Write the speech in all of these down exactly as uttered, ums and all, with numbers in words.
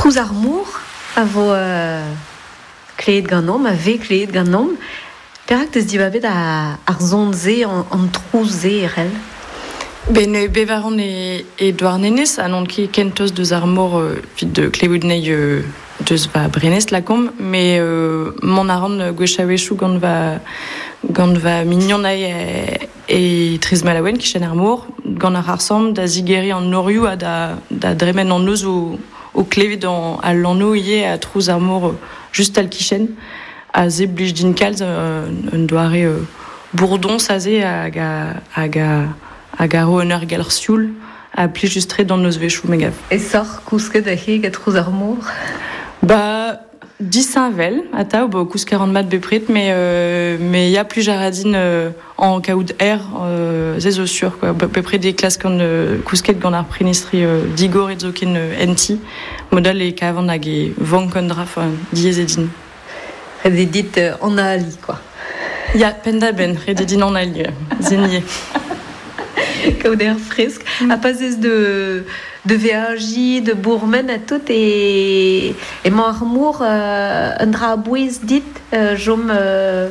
Trouz ar mor a vo euh, kleet ganeomp, a vez kleet ganeomp. Perak teus dibabet a, ar zon-se, an, an trouz-se erel? Ben euh, bevaran e, e Douarnenez, ha n'on ket kentoz deus ar mor euh, vid de klevout nei euh, deus va brenez lakomp, mais euh, mont a ran gwech a-wechoù gant va, gant va mignon ae e, e Trizmalaouen kichen ar mor, gant ar arsam da zigeri an norioù ha da, da dremen an eus o, o klevet an, al lanno ivez a trouz ar mor euh, just al kichen, a ze blij din kalz euh, un doare euh, bourdon aze hag a, hag a, hag a ro un ur galr sioul a plij just tre d'an eus vechoù me gav. E soc'h kousket a he gant trouz ar mor? Ba, disheñvel, atav, bo kousket ran mat bepred, mais, euh, mais ya plij a ra din euh, en kaout aer, euh, ze zo sur, quoi. Bepred e klaskan euh, kousket gant ar prenestri euh, digor et zoken euh, enti, modal e kavan hag e vank an dra, enfin, diaes eo din. Ret eo dit euh, an ali, quoi. Ya, penn-da-benn, ret eo din an ali, zenier. Kaout aer fresk. Mm. Ha pa 'z ez de, de veajiñ, de bourmen ha tout, e, emañ ar mor euh, un dra a-bouez dit, euh, chom euh,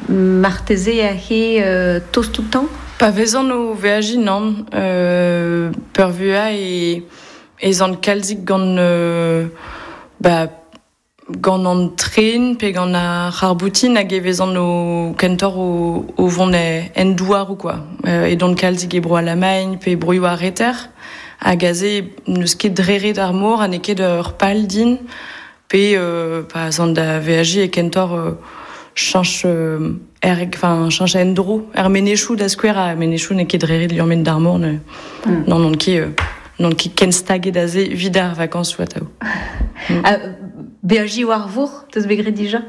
marteze aze euh, tost outañ? Pa vezan o veajiñ nann, euh, peurvuiañ e, ez an kalzik gant euh, ba, gant an tren pe gant ar c'harr-boutin hag e vezan o kentoc'h o, o vont e, en douaroù quoi. Euh, edon kalzik e bro Alamagn pe broioù ar reter, hag aze n'eus ket dreret ar mor ha n'eo ket ur pal din, pe euh, pa 'z an da veajiñ e kentoc'h euh, cheñch euh, er, enfin, cheñch endro, er menezioù da skouer, ha menezioù n'eo ket dreret liammet d'ar mor, ne, mm. non, n'on ket, euh, n'on ket ken staget aze evit ar vakañsoù atav. Mm. Ha beajiñ war vor, teus bet graet dija?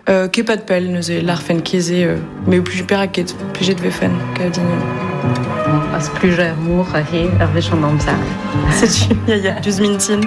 Euh, ket pad pell neuze, larfen ket-se, euh, mais plus perak ket, plijet vefen, kav din. A splujañ er mor aze, ur wech an amzer. Setu, ya ya, diouzh mintin.